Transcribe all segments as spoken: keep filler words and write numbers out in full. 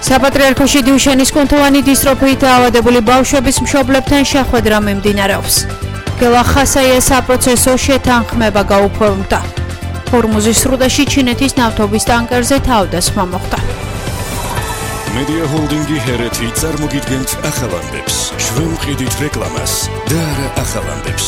საპატრიარქოში დიუშენის კუნთოვანი დისტროფიით დაავადებული ბავშვების მშობლებთან შეხვედრა მიმდინარეობს. გელა ხასაიას საპროცესო შეთანხმება გაუფორმდა. ჰორმუზის სრუტეში ჩინეთის ნავთობის ტანკერზე თავდასხმა მოხდა. მედია ჰოლდინგი ჰერეთი წარმოგიდგენთ ახალამდებს. ჩვენ ვყიდით რეკლამას და არა ახალამდებს.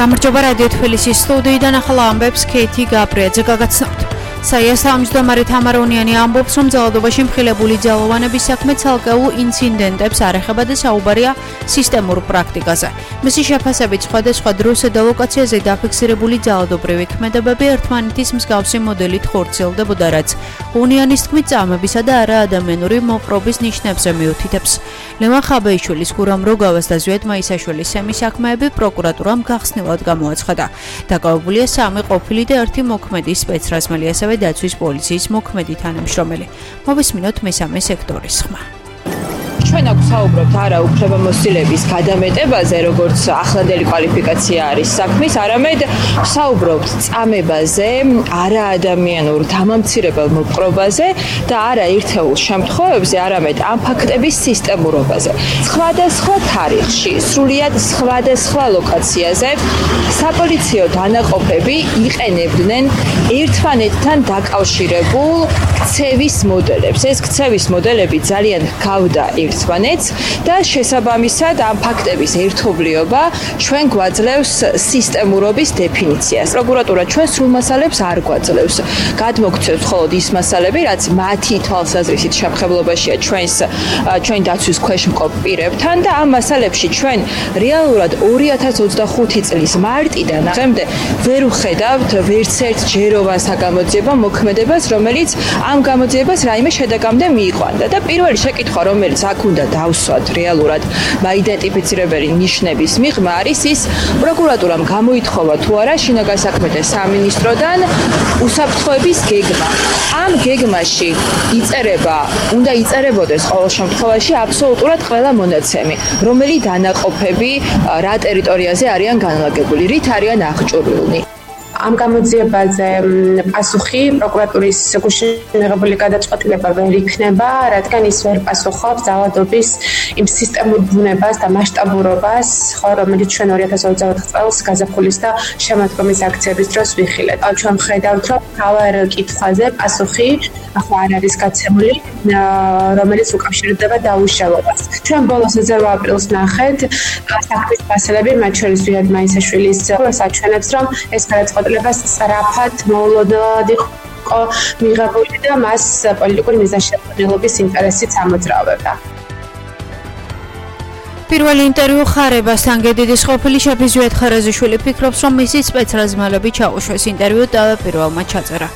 გამარჯობა რადიო თბილისის სტუდიიდან ახალ ამბებს ქეითი გაბრიაძე გაგაცნობთ. საიას თავმჯდომარე თამარ უნიანი ამბობს, რომ ძალადობაში მხილებული ძალოვანების საქმე ცალკეულ ინციდენტებს არ ეხება და საუბარია სისტემურ პრაქტიკაზე. მისი შეფასებით სხვადასხვა დროს და ლოკაციაზე დაფიქსირებული ძალადობრივი ქმედებები ერთმანეთის მსგავსი მოდელით ხორციელდებოდა, რაც უნიანის თქმით წამებისა და არაადამიანური მოპყრობის ნიშნებზე მიუთითებს. ლევან ხაბეიშვილის, გურამ როგავას და ზვიად მაისაშვილის სემის საქმეები პროკურატურამ გახსნილად გამოაცხადა. დაკავებულია სამი ყოფილი და ერთი მოქმედი სპეცრაზმელი, ასევე დაცვის პოლიციის მოქმედი თანამშრომელი. მოვისმინოთ მესამე სექტორის ხმა. ჩვენ აქ საუბრობთ არა უფლებამოსილების გადამეტებაზე, როგორც ახლანდელი კვალიფიკაცია არის საქმის, არამედ საუბრობთ წამებაზე, არაადამიანურ დამამცირებელ მოპყრობაზე და არა ერთეულ შემთხვევებზე, არამედ ამ ფაქტების სისტემურობაზე. სხვადასხვა თარიღში, სრულიად სხვადასხვა ლოკაციაზე საპოლიციო დანაყოფები იყენებდნენ ერთმანეთთან დაკავშირებულ ქცევის მოდელებს. ეს ქცევის მოდელები ძალიან გავდა ერთმანეთს და შესაბამისად ამ ფაქტების ერთობლიობა ჩვენ გვაძლევს სისტემურობის დეფინიციას. პროკურატურა ჩვენ სრულ მასალებს არ გვაძლევს. გადმოგცევს მხოლოდ ის მასალები, რაც მათი თვალსაზრისით შემხებლობაშია ჩვენს ჩვენ დაცვის ქვეშ მყოფ პირებთან და ამ მასალებში ჩვენ რეალურად ორი ათას ოცდახუთი წლის მარტიდან დღემდე ვერ ვხედავთ ვერც ერთ ჯეროვან საგამოძიებო მოქმედებას, რომელიც ამ გამოძიებას რაიმე შედეგამდე მიიყვანდა და პირველი შეკითხვა, რომელიც აქ უნდა დავსვათ რეალურად მაიდენტიფიცირებელი ნიშნების მიღმა არის ის, პროკურატურამ გამოითხოვა თუ არა შინაგან საქმეთა სამინისტროდან უსაფრთხოების გეგმა. ამ გეგმაში იწერება, უნდა იწერებოდეს ყოველ შემთხვევაში აბსოლუტურად ყველა მონაცემი, რომელი დანაყოფები რა ტერიტორიაზე არიან განლაგებული, რით არიან აღჭურვილნი. ამ გამოძიებაზე პასუხი პროკურატურის გუშინ მიღებული გადაწყვეტილება ვერ იქნება, რადგან ის ვერ პასუხობს ძალადობის იმ სისტემურ ბუნებას და მასშტაბურობას, ხო, რომელიც ჩვენ ორი ათას ოცდაოთხ წელს გაზაფხულის და შემოდგომის აქციების დროს ვიხილეთ. ჩვენ ხედავთ, რომ მთავარ კითხვაზე პასუხი ახლა არ არის გაცემული, რომელიც უკავშირდება დაუშავებას. ჩვენ ბოლოს ოცდაოთხ აპრილს ნახეთ საქმის მასალები, მათ შორის ზვიად მაისაშვილის საჩვენებს, რომ ეს გადაწყვეტილება სწრაფად მოულოდნელად იყო მიღებული და მას პოლიტიკური მიზანშეწონილობის ინტერესით ამოძრავებდა. პირველი ინტერვიუ ხარებასთან გედიდის ყოფილი შეფი ზვიად ხარაზიშვილი ფიქრობს, რომ მისი სპეცრაზმელები ჩაუშვეს. ინტერვიუ დავაპირველმა ჩაწერა.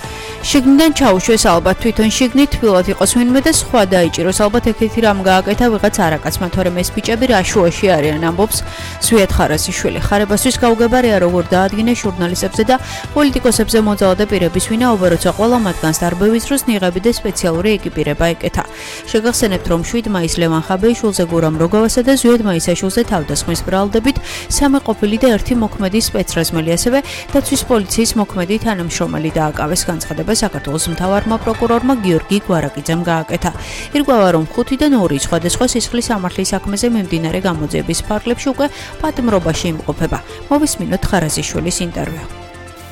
შიგნიდან ჩაუშვეს, ალბათ თვითონ შიგნით თბილად იყოს ვინმე და სხვა დაიჭიროს, ალბათ ეკეთი რამ გააკეთა ვიღაც არაკაცმა, თორემ ეს ბიჭები რა შუაში არიან, ამბობს ზვიად ხარაზიშვილი. ხარებასთვის გაუგებარია როგორ დაადგინეს ჟურნალისტებზე და პოლიტიკოსებზე მოძალადე პირების ვინაობა, როცა ყველა მათგანს დარბევის დროს ნიღაბი და სპეციალური ეკიპირება ეკეთა. შეგახსენებთ, რომ შვიდ მაისს ლევან ხაბეიშვილზე, გურამ როგავასა და ზვიად მაისაშვილზე თავდასხმის ბრალდებით სამი ყოფილი და ერთი მოქმედი სპეცრაზმელი, ასევე დაცვის პოლიციის მოქმედი თანამშრომელი დააკავეს. განცხადება საქართველოს მთავარმა პროკურორმა გიორგი გვარაკიძემ გააკეთა. ირკვევა, რომ ხუთიდან ორი სხვადასხვა სისხლის სამართლის საქმეზე მიმდინარე გამოძიების ფარგლებში უკვე პატიმრობაში იმყოფება. მოვისმინოთ ხარაზიშვილის ინტერვიუ.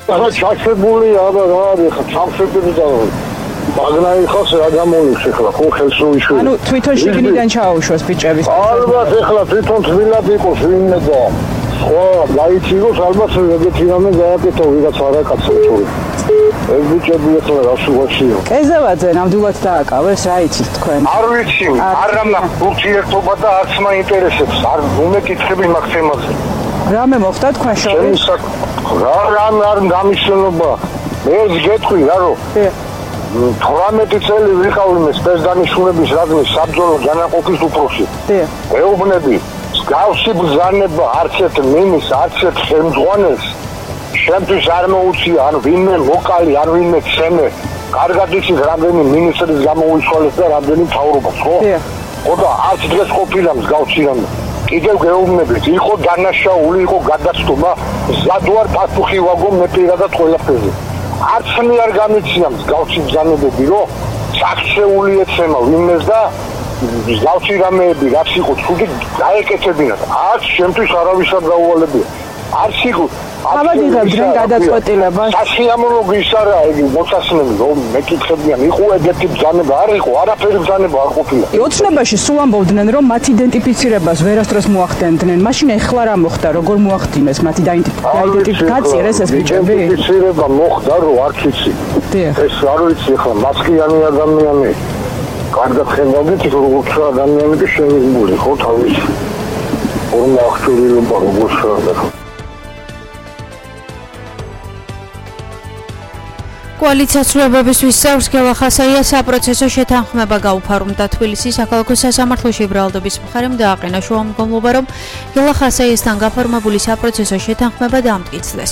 ახლა ჩაშვებული არა რა არის, ხა ჩაშვებული და მაგნაი ხოს რა გამოლიქს ახლა ხო ხელს უიშვი. ანუ თვითონ შიგნიდან ჩაუშვეს ბიჭების. ალბათ ახლა თვითონ თბილად იყოს ვინმე და ხო გაიცილოს, ალბათ ეგეთი რამე გააკეთო ვიღაც არაკაცო თორე. ეს ბიჭები ახლა რა შუაშია. კეზევაძე ნამდვილად დააკავეს, რა იცით თქვენ? არ ვიცი, არამა ურთიერთობა და არც მაინტერესებს, არ უმეკითხები მაგ თემაზე. რამე მოხდა თქვენ შორის? რა რამე არ გამიშენობა. ეს გეტყვი რარო? თვრამეტი წელი ვიყავ იმ სპეცდანიშნულების რაზმის საბრძოლო განაყოფის უფროსი. ეუბნები, მსგავსი ბრძანება არც ერთ მინის, არც ერთ ხელმძღვანელს შემთხვევით არ მოუწია, ან ვინმე მოკალი, ან ვინმე ცემე. კარგად იცით, რამდენი მინისტრის გამოუცვალეს და რამდენი მთავრობას, ხო? ხო და არც დღეს ყოფილა მსგავსი რამე. კიდევ გეუბნებით, იყო დანაშაული, იყო გადაცდომა, ზად ვარ პასუხი ვაგო მე პირადად ყველაფერზე. არც მე არ გამიცია მსგავსი ბრძანებები, რომ საქცეული ეცემა ვინმეს და ზავში რამეები რაც იყო ცუდი დაეკეთებინათ. არც შემთხვევით არავისად დაუვალებია. არც იყო ავადიღებ დღე გადაწყვეტილებას. სასიამოვნო გისარა იგი მოცასნები რომ მეკითხებიან იყო ეგეთი ბრძანება არ იყო არაფერი ბრძანება არ ყოფილა. ოცნებაში სულ ამბობდნენ რომ მათ იდენტიფიცირებას ვერასდროს მოახდენდნენ. მაშინ ეხლა რა მოხდა როგორ მოახდინეს მათი დაიდენტიფიკაცია გაწიერეს ეს ბიჭები? იდენტიფიცირება მოხდა რომ არც იცი. ეს არ ვიცი ახლა მასკიანი ადამიანი კარგად ხედავდით როგორც ადამიანი და შემიგმული ხო თავის ორმა აღჭურვილობა როგორც ხარ. კოალიციაცრუებებისთვის წევრს გელა ხასაია საპროცესო შეთანხმება გაუფორმდა თბილისის საქალაქო სასამართლოში ბრალდობის მხარემ დააყენა შუამდგომლობა რომ გელა ხასაიასთან გაფორმებული საპროცესო შეთანხმება დამტკიცდეს.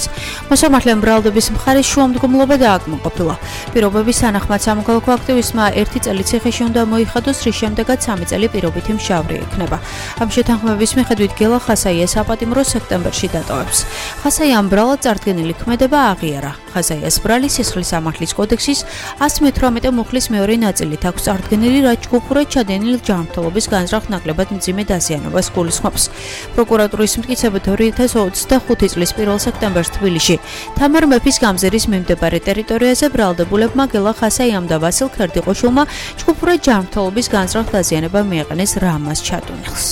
მოსამართლემ ბრალდობის მხარის შუამდგომლობა დააკმაყოფილა. პირობების თანახმად სამოქალაქო აქტივისტმა ერთი წელი ციხეში უნდა მოიხადოს, რის შემდეგაც სამი წელი პირობითი მშავრი ექნება. ამ შეთანხმების მიხედვით გელა ხასაია საპატიმროს სექტემბერში დატოვებს. ხასაიამ ბრალად წარდგენილი ქმედება აღიარა. ხასაიას ბრალი სისხლის სამართლის კოდექსის ას მეთვრამეტე მუხლის მეორე ნაწილით აქვს წარდგენილი, რაც ჯგუფურად ჩადენილ ჯანმრთელობის განზრახ ნაკლებად მძიმე დაზიანებას გულისხმობს. პროკურატურის მტკიცებით ორი ათას ოცდახუთი წლის პირველ სექტემბერს თბილისში თამარ მეფის გამზირის მიმდებარე ტერიტორიაზე ბრალდებულებმა გელა ხასაიამ და ვასილ ქერდიყოშვილმა ჯგუფურად ჯანმრთელობის განზრახ დაზიანება მიაყენეს რამაზ ჩატუნილს.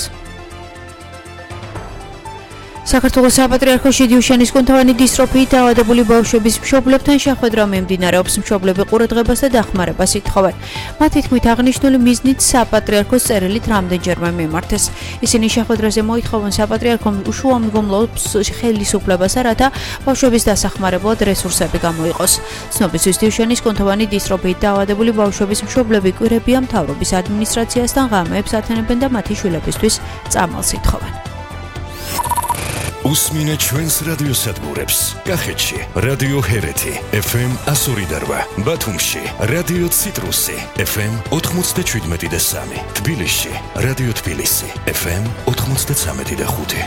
საქართველოს საპატრიარქოში დიუშენის კუნთოვანი დისტროფიით დაავადებული ბავშვების მშობლებთან შეხვედრა მიმდინარეობს. მშობლები ყურადღებას და დახმარებას ითხოვენ. მათი თქმით აღნიშნული მიზნით საპატრიარქოს წერილით რამდენჯერმე მიმართეს. ისინი შეხვედრაზე მოითხოვენ საპატრიარქომ უშუალომდგომლობს ხელისუფლებასა, რათა ბავშვების დასახმარებლად რესურსები გამოიყოს. ცნობისთვის დიუშენის კუნთოვანი დისტროფიით დაავადებული ბავშვების მშობლები კვირებია მთავრობის ადმინისტრაციასთან ღამეებს ათენებენ და მათი შვილებისთვის წამალს ითხოვენ. უსმინე ჩვენს რადიოსადგურებს. კახეთში რადიო ჰერეთი ეფ ემ εκατო ორი და რვა, ბათუმში რადიო ციტრუსი ეფ ემ ოთხმოცდაშვიდმეტი და სამი, თბილისში რადიო თბილისი ეფ ემ ოთხმოცდაცამეტი და ხუთი.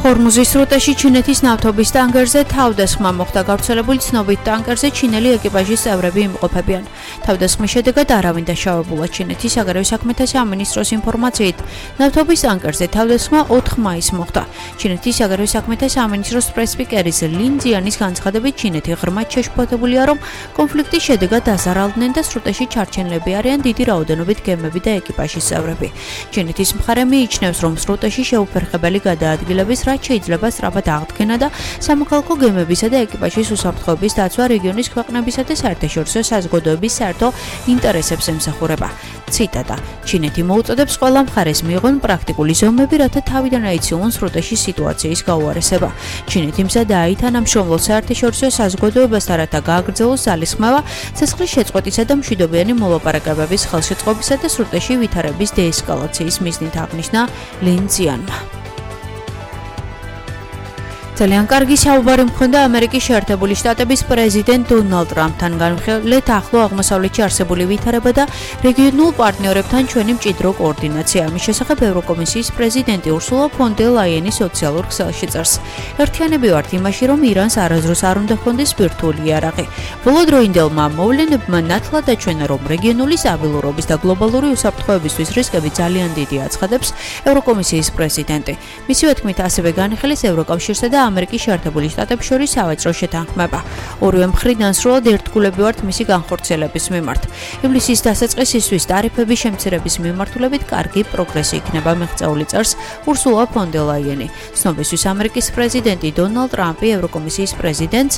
ჰორმუზის სრუტეში ჩინეთის ნავთობის ტანკერზე თავდასხმა მოხდა. გავრცელებული ცნობით ტანკერზე ჩინელი ეკიპაჟის წევრები იმყოფებიან. თავდასხმის შედეგად არავინ დაშავებულა. ჩინეთის საგარეო საქმეთა სამინისტროს ინფორმაციით ნავთობის ტანკერზე თავდასხმა ოთხ მაისს მოხდა. ჩინეთის საგარეო საქმეთა სამინისტროს პრესპიკერის ლინ ძიანის განცხადებით ჩინეთი ღრმად შეშფოთებულია, რომ კონფლიქტის შედეგად დაზარალდნენ და სრუტეში ჩარჩენილები არიან დიდი რაოდენობით გემები და ეკიპაჟის წევრები. ჩინეთის მხარე მიიჩნევს, რომ სრუტეში შეუფერხებელი გადაადგილების რაც შეიძლება სწრაფად აღდგენა და სამოქალაქო გემებისა და ეკიპაჟის უსაფრთხოების დაცვა რეგიონის ქვეყნებისა და საერთაშორისო საზოგადოების საერთო ინტერესებს ემსახურება. ციტატა: ჩინეთი მოუწოდებს ყველა მხარეს მიიღონ პრაქტიკული ზომები, რათა თავიდან აიციულონ სრუტეში სიტუაციის გაუარესება. ჩინეთი მზადაა ითანამშრომლოს საერთაშორისო საზოგადოებასთან, რათა გააგრძელოს ძალისხმევა ცეცხლის შეწყვეტისა და მშვიდობიანი მოლაპარაკებების ხელშეწყობისა და სრუტეში ვითარების დეესკალაციის მიზნით, აღნიშნა ლინ ძიანმა. ძალიან კარგი საუბარი მქონდა ამერიკის შეერთებული შტატების პრეზიდენტ დონალდ ტრამპთან. განვიხილეთ ახლო აღმოსავლეთში არსებული ვითარება და რეგიონულ პარტნიორებთან ჩვენი მჭიდრო კოორდინაცია. ამის შესახებ ევროკომისიის პრეზიდენტი ურსულა ფონ დერ ლაიენი სოციალურ ქსელში წერს. ერთიანები ვართ იმაში, რომ ირანს არასდროს არ უნდა ჰქონდეს ბირთვული იარაღი. ბოლოდროინდელმა მოვლენებმა ნათლად აჩვენა, რომ რეგიონული სტაბილურობის და გლობალური უსაფრთხოებისთვის რისკები ძალიან დიდი აცხადებს ევროკომისიის პრეზიდენტი. მისივე თქმით, ასევე განიხილეს ევროკავშირსა და ამერიკის შეერთებული შტატებს შორის სავაჭრო შეთანხმება. ორივე მხრიდან სრულად ერთგულები ვართ მისი განხორციელების მიმართ. ივლისის დასაწყისისთვის ტარიფების შემცირების მიმართულებით კარგი პროგრესი იქნება, მიღწეული წერს ურსულა ფონ დერ ლაიენი. ცნობისთვის ამერიკის პრეზიდენტი დონალდ ტრამპი ევროკომისიის პრეზიდენტს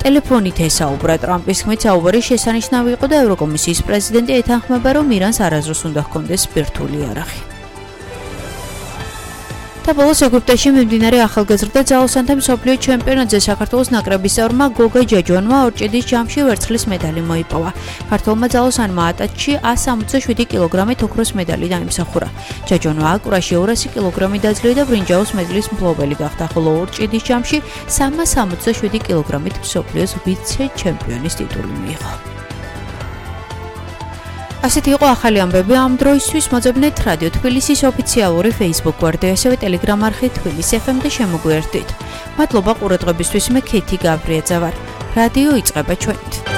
ტელეფონით ესაუბრა. ტრამპის თქმით, საუბარი შესანიშნავი იყო და ევროკომისიის პრეზიდენტი ეთანხმება, რომ ირანს არასდროს უნდა ჰქონდეს ბირთვული იარაღი. და ბოლოს ეგვიპტეში მიმდინარე ახალგაზრდა ძალოსანთა მსოფლიო ჩემპიონატზე საქართველოს ნაკრების წევრმა გოგა ჯაჯვანმა ორჭედის ჯამში ვერცხლის медаლი მოიპოვა. ქართველმა ძალოსანმა ატაჩში ას სამოცდაშვიდი კილოგრამით ოქროს медаლი დაიმსახურა. ჯაჯვანმა აკურაში ორასი კილოგრამი დაძლია და ბრინჯაოს მედლის მფლობელი გახდა, ხოლო ორჭედის ჯამში სამას სამოცდაშვიდი კილოგრამით მსოფლიოს ვიცე-ჩემპიონის ტიტული მიიღო. ასეთი იყო ახალი ამბები ამ დროისთვის. მოძებნეთ რადიო თბილისის ოფიციალური Facebook გვერდი, ასევე Telegram არხი თბილისი ეფ ემ და შემოგვიერთდით. მადლობა ყურადღებისთვის. მე ქეთი გაბრიაძე ვარ. რადიო იწყება ჩვენით.